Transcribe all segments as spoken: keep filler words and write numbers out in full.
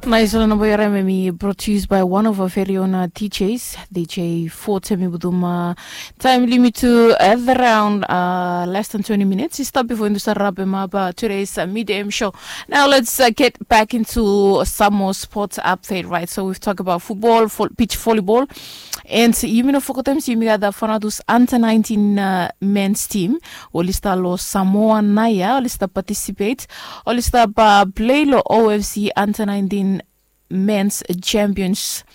Nais, ol namba yu harim em i brought to you by one of our very own uh, D Js, D J Forte. Mi budum uh, taem blong yumi tu at around uh, less than twenty minutes. I stop before yumi start wrap him up uh, today's uh, midday show. Now let's uh, get back into some more sports update, right? So we've talked about football, fo- beach volleyball, and yumi no forget them. So yumi gat the Fanatus under nineteen uh, men's team. Oli stap lo Samoa naoia, oli stap participate, oli stap uh, play lo O F C under nineteen men's champions.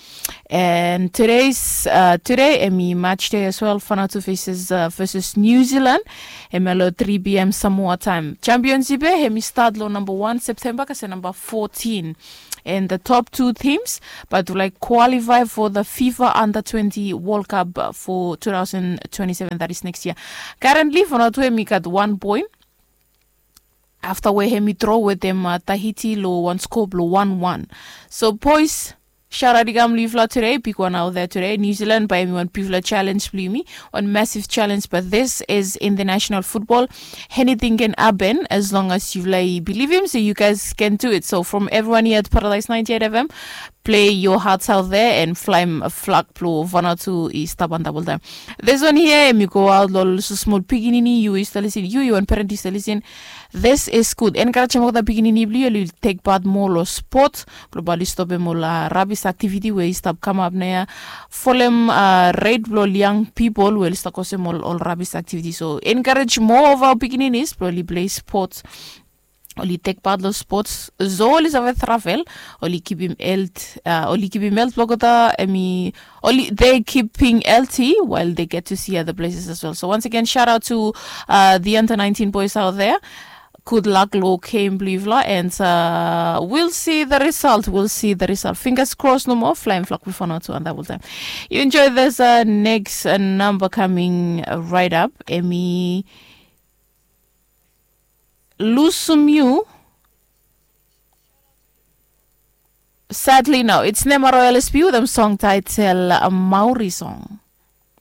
And today's uh, today em i match day as well. Fanatus versus uh, versus New Zealand. Em i lo three p.m. Samoa time. Championship eh, em i start lo number one September kasi number fourteen. And the top two teams but to like qualify for the FIFA under twenty World Cup uh, for two thousand twenty-seven, that is next year. Currently, Fanatus em i gat one point after where hemi draw with them uh, Tahiti lo one score lo one one. So boys, shout out i kam blong yufala today, big one out there today. New Zealand bae hemi wan bigfala challenge blong yumi, one massive challenge, but this is international football. Anything can happen as long as yufala i believe him, so you guys can do it. So from everyone here at Paradise ninety-eight F M, play your hearts out there and fly a flag blong Vanuatu i stap antap oltaem. This one here, em i go out lo ol small pikinini, yu i stap lisin, yu i wan parent i stap lisin. This is good. Encourage olgeta pikinini blong yu oli take part more lo sport blong bae oli stopem ol uh, rubbish activity we i stap kamap naoia. Folem uh, rate blong ol young people we oli stap kosem ol, ol rubbish activity. So encourage more of our pikininis blong oli play sports, oli take part lo sports, so oli save travel, oli kipim health uh, oli kipim health blong olgeta, em i oli they keeping healthy while they get to see other places as well. So once again, shout out to uh, the under nineteen boys out there. Good luck lo game blong yufala, and uh, we'll see the result, we'll see the result. Fingers crossed, no more flying flock before not to and that will time. You enjoy this uh, next uh, number coming uh, right up. Em i Lusum You. Sadly, no. It's Nema Royal S P U, them song title uh, Maori song.